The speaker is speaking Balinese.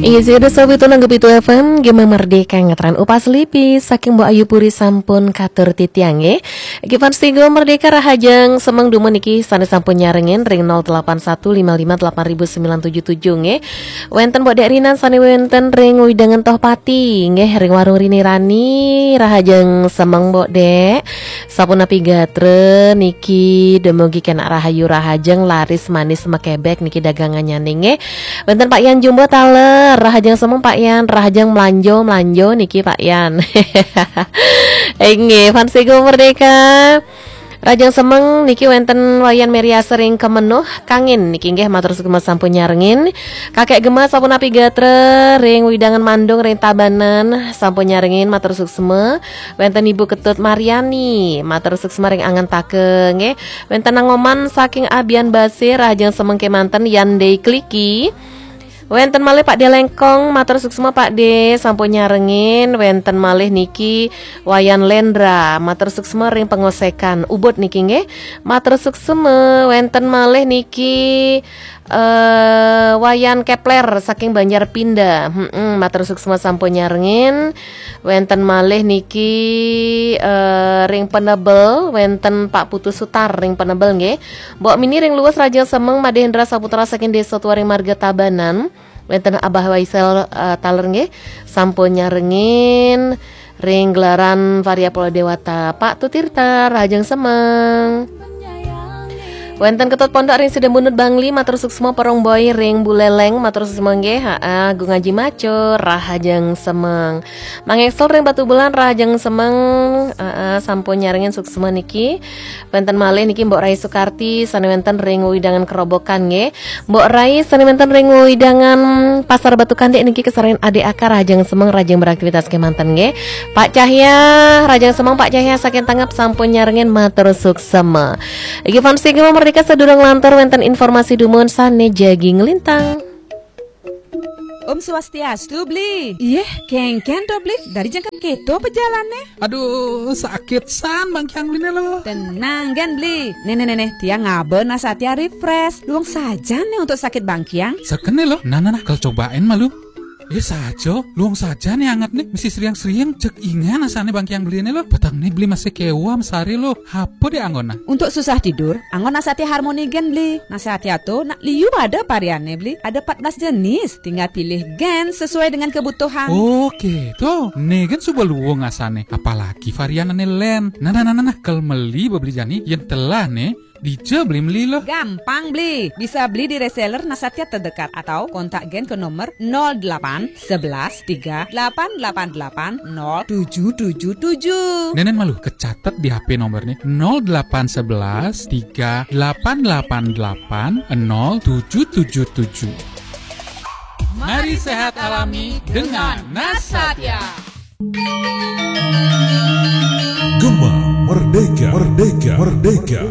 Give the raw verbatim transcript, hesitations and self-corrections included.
Isi ada sawi tunang ke pitu F M, Gema Merdeka ngetren upas lipi, saking Mbok Ayu Puri sampun katur titiang nggih. Iki fans Tigo Merdeka rahajeng semeng dumun iki sane sampun nyarengin ring nol delapan satu lima lima delapan ribu sembilan tujuh tujuh nggih. Wenten Mbok Dek Rinan sane wenten ring Widangan Tohpati nggih, ring Warung Rini Rani rahajeng semeng Mbok Dek. Sapunapi gatra niki, demogi kenak rahayu rahajeng laris manis mekebek niki dagangannya nggih. Wenten Pak Yan Jumbo taler, rahajeng semeng Pak Yan, rahajeng melanjo melanjo niki Pak Yan. Inggih, fans Tigo Merdeka. Rahajeng semeng niki wenten Wayan Meriasa ring Kemenuh, Kangin niki nggih matur suksma sampun nyarengin. Kakek Gema sapunapi gatra ring Widangan Mandung ring Tabanan sampun nyarengin matur suksma. Wenten Ibu Ketut Mariani, matur suksma ring angen take nggih. Wenten Nangoman saking Abian Basir, rahajeng semeng kemanten Yandei Kliki. Wenten malih Pak De Lengkong, matur suksma Pak De, sampun nyarengin. Wenten malih niki Wayan Lendra, matur suksma ring Pengosekan Ubud niki nggih. Matur suksma. Wenten malih niki eh Wayan Kepler saking Banjar Pinda. Mm-mm, matur suksma sampun nyarengin. Wenten malih niki eh ring Penebel, wenten Pak Putu Sutar ring Penebel nggih. Mbok Mini ring Luwes rahajeng semeng, Made Hendra Saputra saking Desa Tuaring Marga Tabanan. Wenten Abah Waisel eh, taler nggih. Sampun nyarengin ring gelaran Varia Pulau Dewata. Pak Tutirta rahajeng semeng. Wenten Ketut Pondok ring Sidembunut Bangli, matur suksma. Porong Boy ring Buleleng, matur suksma nggih. Ha, Gung Aji Macur rahajeng semeng. Mang Excel ring Batubulan rahajeng semeng. Ha, sampun nyarengin suksma niki. Wenten malih niki Mbok Rai Sukarti sane wenten ring Widangan Kerobokan nggih. Mbok Rai sane wenten ring Widangan Pasar Batu Kandik niki kesaren adik akar rahajeng semeng, rahajeng beraktivitas kemanten nggih. Pak Cahya, rahajeng semeng Pak Cahya saking Tangep sampun nyarengin, matur suksma. Iki fans Gema Merdeka, sadurung lantur wenten informasi dumun sane jagi nglintang. Om Swastiastu, Bli. Iyeh, kengken to, Bli. Dari jengkep keto pejalane. Aduh, sakit san bangkiang Bline lo. Tenang gen, Bli. Nih, nih, nih, nih. Tiang ngaba Nasatya Refresh. Luang saja nih untuk sakit bangkiang. Sekene lo. Nah, nah, nah, kal cobain malu. Eh, saja. Luang saja nih anget nih. Mesti seriang-seriang. Cek ingan asane bangkiang Bline lo. Petang nih Bli masih kewam sari lo. Apa deh anggona? Untuk susah tidur, anggon Nasatya Harmony gen, Bli. Nasatya to nak liu ada variannya, Bli. Ada empat belas jenis. Tinggal pilih gen sesuai dengan kebutuhan. Oke, to. Nih gen suba luang asane. Apalagi variannya len. Nah, nah, nah, nah, nah. Kal meli bebeli jani. Yang telah nih. Dija beli meli lo. Gampang, Bli. Bisa beli di reseller Nasatya terdekat atau kontak gen ke nomor nol delapan sebelas tiga delapan delapan delapan nol tujuh tujuh tujuh. Nenen malu kecatet di H P nomor nih, nol delapan sebelas tiga delapan delapan delapan nol tujuh tujuh tujuh. Mari sehat alami dengan Nasatya. Gema Merdeka, Merdeka, Merdeka.